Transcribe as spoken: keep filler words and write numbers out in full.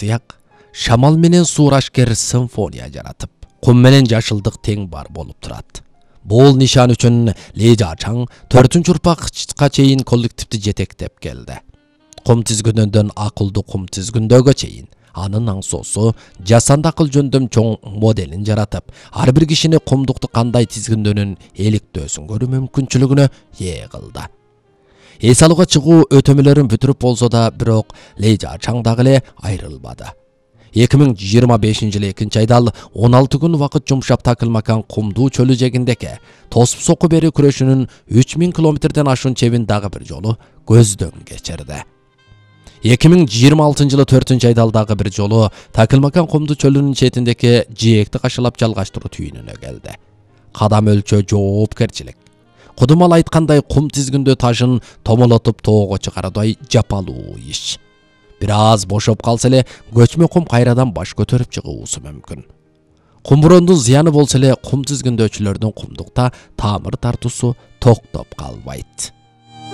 Тияк шамал менен суурашкер симфония жаратып, кум менен жашылдык тең бар болуп турат. Бул нишан үчүн Ли Жачаң төртүнчү урпакка чейин коллективди жетектеп келди. Кум тизгүнөдөн акылдуу кум тизгүндөгө чейин анын аңсоосу жасанды акыл жөндөм чоң моделин жаратып, ар бир кишини кумдукту кандай тизгүндөнүн иликтөөсүн көрүү мүмкүнчүлүгүнө ээ кылды. Эс алууга чыгуу өтөмөлөрүн бүтүрүп болсо да, бирок Ли Жачаң дагы эле айрылбады. эки миң жыйырма бешинчи жылы экинчи айда ал он алты күн убакыт жумшап такылмакан кумдуу чөлү жээгиндеги тосуп соку бери күрөшүнүн үч миң километрден ашуун чебин дагы бир жолу көздөн кечирди. эки миң жыйырма алтынчы жылы төртүнчү айда ал дагы бир жолу такылмакан кумдуу чөлүнүн четиндеги жээкти кашылап жалгаштыруу түйүнүнө келди. Кадам өлчөө жоопкерчилик. Кудумал айткандай, кум тизгүндөө ташын томолотуп тоого чыгаруудай жапалуу иш. Бир аз бошоп калса эле көчмө кум кайрадан баш көтөрүп чыгуусу мүмкүн. Кумбурондун зыяны болсо эле кум тизгүндөөчүлөрдүн кумдукта тамыр тартуусу токтоп калбайт.